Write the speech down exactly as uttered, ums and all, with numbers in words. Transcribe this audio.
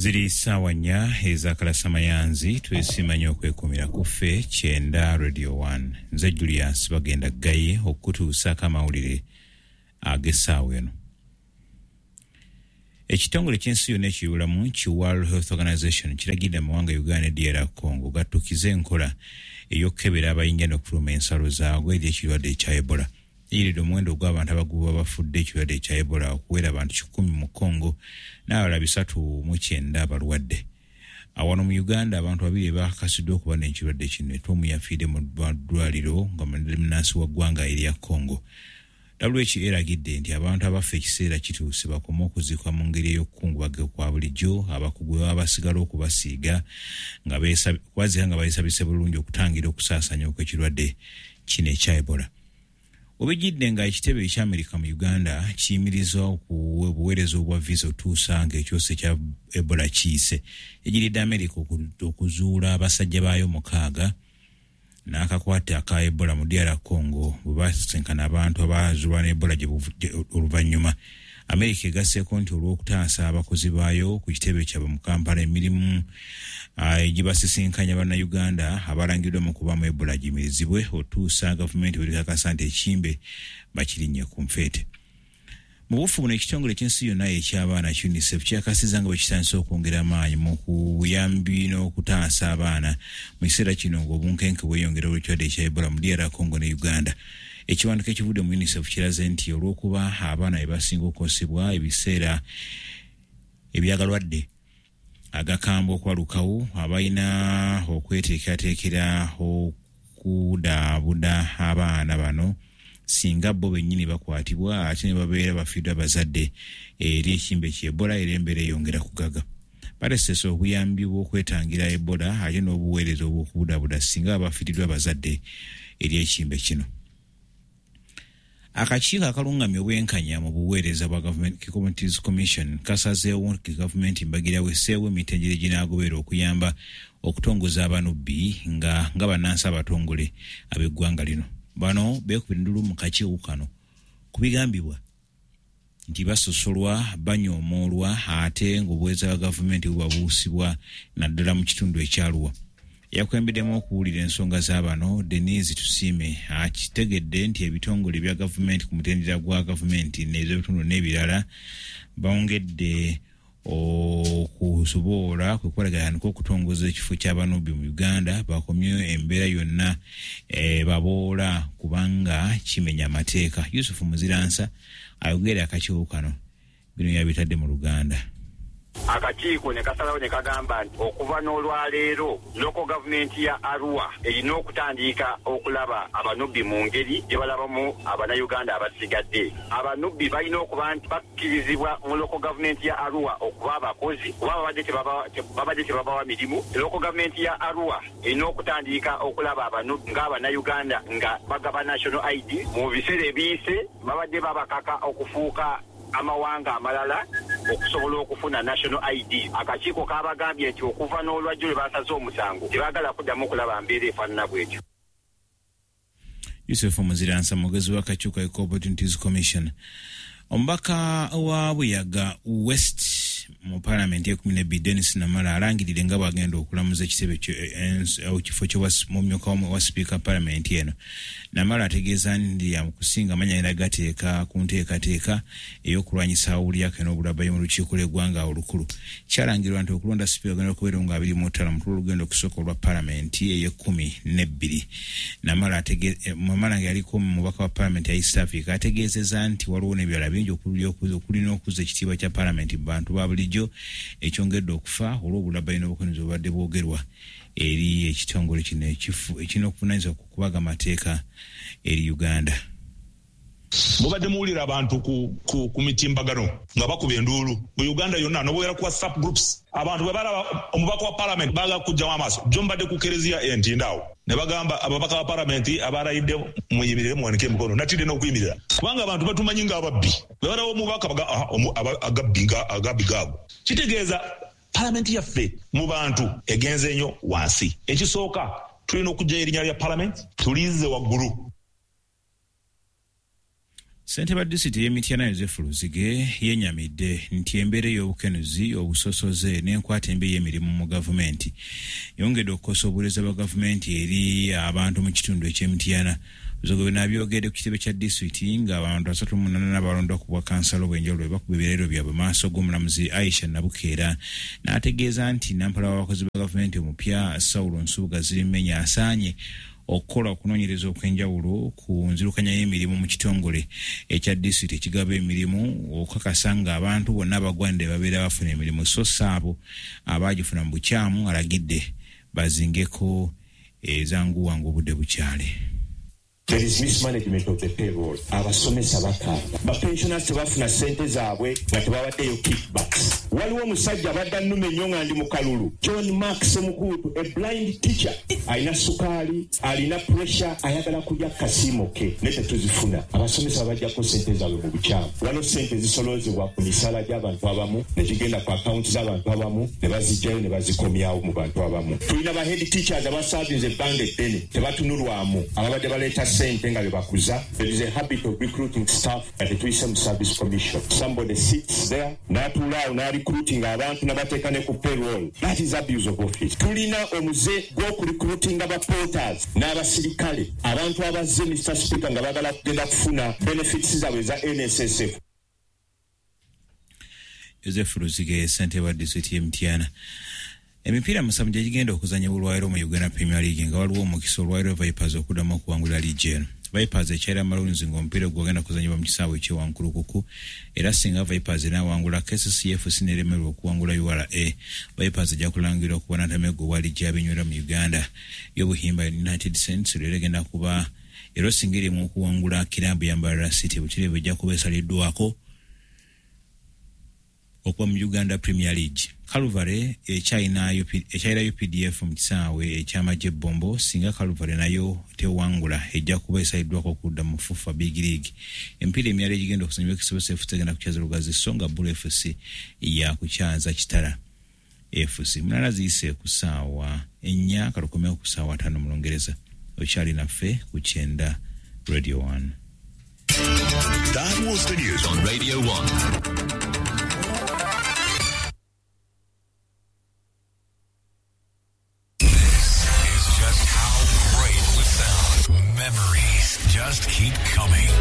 Ziri ssaawa nnya ez'akalasamayanzi. Twesiima nnyo okwekumira ku ffe kyenda Radio one. Nze Julius Bagenda Gaye okutuusaako amawulire ag'essaawa eno. Ekitongole ky'ensi yonna ekiyulamu ki World Health Organization kiragidde amawanga Uganda ne D R Congo gattukize enkola ey'okukebera abayingira n'okufuluma ensalo zaagwo eri ekirwadde ekya Ebola. Eyiridde omuwendo ogw'abantu abaguba bafudde ekirwadde ekya Ebola okuwera abantu kikumi mu Congo n'abalala bisatu mu kyenda abalwadde. Awano mu Uganda, abantu babiri bakakasiddwa okuba n'ekirwadde kino, ate omu yafiiridde mu ddwaliro nga munnansi wa ggwanga erya Congo. W H O eragidde nti abantu abafa ekiseera kituuse bakome okuziikwa mu ngeri ey'okukungubaga kwa bulijjo, abakugu bwe baba basigala okubasiiga nga kubaziika nga beesabise bulungi okutangira okusaasaanya okw'ekirwadde kino ekya Ebola. Obijjidde nga ekitebe eky'Amerika mu Uganda kiyimiriza obuweereza obwa visa otuusa ng'ekyosa ekya Ebola kiyise. Egiridde Amerika okuzuula abasajja baayo mukaaga n'akakwate aka Ebola mu D R Congo bwe basinkana abantu abazuulwa ne Ebola oluvannyuma. Amerika egasseeko nti olw'okutaasa abakozi baayo ku kitebe kyabwe mu Kampala, emirimu egibasisinkanya Bannayuganda abalangiddwa mu kubaamu Ebola giyimirizibwe otuusa gavumenti bwerikakasa nti ekimbe bakirinnye ku nfeete. Mu bufu buno, ekitongole eky'ensi yonna eky'abaana UNICEF kyakasiza nga bwe kitandise okwongera amaanyi mu buyambi n'okutaasa abaana mu kiseera kino ng'obunkenke bweyongera olw'ekirwadde ekya Ebola mu D R Congo ne Uganda. Ekiwandiiko ekivudde mu UNICEF kiraze nti olw'okuba abaana be basinga okukosebwa ebiseera ebyagalwadde agakambwe okwalukawo, abalina okweteekerateekera okudaabuda abaana bano singa bo bennyini bakwatibwa ate ne babeera bafiiddwa abazadde eri ekimbe kya Ebola, era embeera eyongera kugaga. Balesesa obuyambi bw'okwetangira Ebola ate n'obuweereza obw'okubudaabuda singa bafiiriddwa abazadde eri ekimbe kino. Akakiiko akalungamya obwenkanya mu buweereza bwa Government Communities Commission kasazeewo nti gavumenti mbagirawo esseewo emitendera eginaagoberera okuyamba okutongoza abanubbi nga nga bannansi abatongole ab'eggwanga lino. Bano beekubira endulu mu kakiiko kano ku bigambibwa nti basosolwa, banyoomoolwa, ate ng'obuweereza bwa gavumenti bubabuusibwa, naddala mu kitundu ekyaluwa. Yakulembeddemu okuwulira ensonga z'abano, Denise Tusiime, akitegedde nti ebitongole bya gavumenti ku mutendera gwa gavumenti n'ebitundu n'ebirala bongedde okusobola kwe kubalaganika okutongoza ekifo ky'abanubbi mu Uganda, bakomye embeera yonna e, baboola kubanga kimenya amateeka. Yusufu Muziransa ayogera akakiiko kano bino yabitadde mu Luganda. Akakiiko ne kasalawo ne kagamba nti okuva n'olwaleero local gavumenti ya Arua erina okutandika okulaba abanubbi mu ngeri gye balabamu Abannayuganda abasigadde. Abanubbi balina okuba nti bakkirizibwa mu local gavumenti ya Arua okuba abakozi, kuba babadde tebabawa mirimu. Local gavumenti ya Arua erina okutandika okulaba abanubbi ng'Abannayuganda nga bagaba national I D. Mu biseera ebiyise babadde babakaka okufuuka amawanga amalala okusobola okufuna national I D. Akakiiko kabagambye nti okuva n'olwajjo lwe basaze omusango, tebaagala kuddamu okulaba mbeera efaanana bwetyo. Yusufu Muziransa, mwogezi w'akakiiko Equal Opportunities Commission. Omubaka wa Buyaga West mu Paalamenti ekumi nebbiri, Denis Namala, alangiridde nga bwagenda okulamuza ekitebe ekifo kyomumyuka wa sipiika Paalamenti eno. Namala ategeeza nti kusinga amanya era gateeka ku nteekateeka ey'okulwanyisa awulyako n'obulabayo mu lukiiko lw'eggwanga olukulu. Kyalangirwa nti okulonda sipiika ogenda okubeera nga abiri mu ttaano mutula olugendo okusooka olwa Paalamenti ey'ekkumi n'ebbiri. Namala nga yaliko mubaka wa Paalamenti ya East Africa ategeezeza nti waliwo n'ebirala bingi okulina okuzza ekitiibwa kya Paalamenti mu bantu ba bulijjo ekyongedde okufa olw'obulabayi n'obukozi obubadde bwogerwa eri ekitongole kino ekirina okuvunanyizibwa ku kubaga amateeka eri Uganda. Mubadde muwulira abantu ku, ku, ku mitimbagano nga bakuba enduulu mu Uganda yonna, nobuwera ku WhatsApp groups. Abantu bwe balaba omubaka wa Parliament baagala kujjamu amaaso. Jo mbadde ku kereziya Entinda awo ne bagamba ababaka ba Palamenti abalayidde, "Muyimirire, muwanike emikono." Natidde n'okuyimirira kubanga abantu batumanyi ng'ababbi. Bwe balaba omubaka agabbi agabbi gaago, kitegeeza Palamenti yaffe mu bantu egenze nnyo wansi. Ekisooka, tulina okugyayo erinnya lya Palamenti tulizze waggulu. Ssentebe wa disitulikiti y'e Mityana Yozefu Luzige yennyamidde nti embeera ey'obukenuzi, obusosoze n'enkwata embi ey'emirimu mu gavumenti yongedde okukosa obuweereza bwa gavumenti eri abantu mu kitundu eky'e Mityana. Luzige bino abyogedde ku kitebe kya disitulikiti ng'abantu asatu mu munaana abalondwa ku bwakansala obw'enjawulo bwe bakuba ebirayiro byabwe mu maaso g'omulamuzi Aisha Nabukeera, n'ategeeza nti nampala w'abakozi ba gavumenti omupya Saulo Nsubuga Zirimenya asaanye okukola okunoonyereza okw'enjawulo ku nzirukanya y'emirimu mu kitongole ekya disitulikiti ekigaba emirimu okukakasa ng'abantu bonna abagwanidde babeera bafuna emirimu, so si abo abaagifuna mu bukyamu. Alagidde bazingeko ezanguwanga obudde bukyali. There is mismanagement of the payroll. Abasomesa bakaaba, bapensioners tebafuna ssente zaabwe nga tebabaddeyo kickbacks. Waliwo omusajja abadde annuma ennyo nga ndi mu kalulu, John Mark Semukuutu, a blind teacher, alina sukaali, alina pressure, ayagala kulya kasiimo ke naye tetuzifuna. Abasomesa babajjako ssente zaabwe mu bukyamu. Waliwo ssente zisoloozebwa ku misaala gy'abantu abamu ne zigenda ku akawunti z'abantu abamu ne bazijjayo ne bazikomyawo mu bantu abamu. Tulina ba head teachers abasaavinze ebbanga eddene tebatunulwamu, ababadde baleeta ssente nga bebakuza. There is a habit of recruiting staff nga tetuyise mu service commission. Somebody sits there n'atuula awo n'arecruiting abantu n'abateeka ne ku payroll. That is abuse of office. Tulina omuze gw'okurecruitinga ba porters n'abasirikale, abantu abazze Mister Speaker nga baagala kugenda kufuna benefits zaabwe eza N S S F. Joseph Luzige, ssentebe wa disitulikiti y'e Mityana. Emipiira musanvu gye gigenda okuzannyibwa olwaleero mu Uganda Premier League nga waliwo omukisa olwaleero Vipers okuddamu okuwangula liigi eno. Vipers ekyalira Maroons ng'omupiira gwagenda kuzannyibwa mu kisaawe eky'e Wankulukuku, era singa Vipers enaawangula K C C F C n'eremerwa okuwangula U R A, Vipers ejja kulangirwa okuba ntameggo obwa liigi y'abinywera mu Uganda. Y'Obuhimba United Saints leero egenda kuba era singa erimu okuwangula kiraabu ya Mbarara City, butereevu ejja kuba esaliddwako okuba mu Uganda Premier League. Calvary ekyalina ekyalira U P D F mu kisaawe eky'amagye Bombo, singa Calvary nayo tewangula ejja kuba esaliddwako okudda mu FUFA Big League. Emipiira emirala egigenda okuzannyibwa Express F C egenda kukyaza Lugazi, so nga Bull F C yakukyaza Kitara F C. Munana ziyise ku ssaawa ennya kalukomewo ku ssaawa ttaano mu Lungereza. Okyali naffe ku kyenda Radio one. That was the news on Radio one. Just keep coming.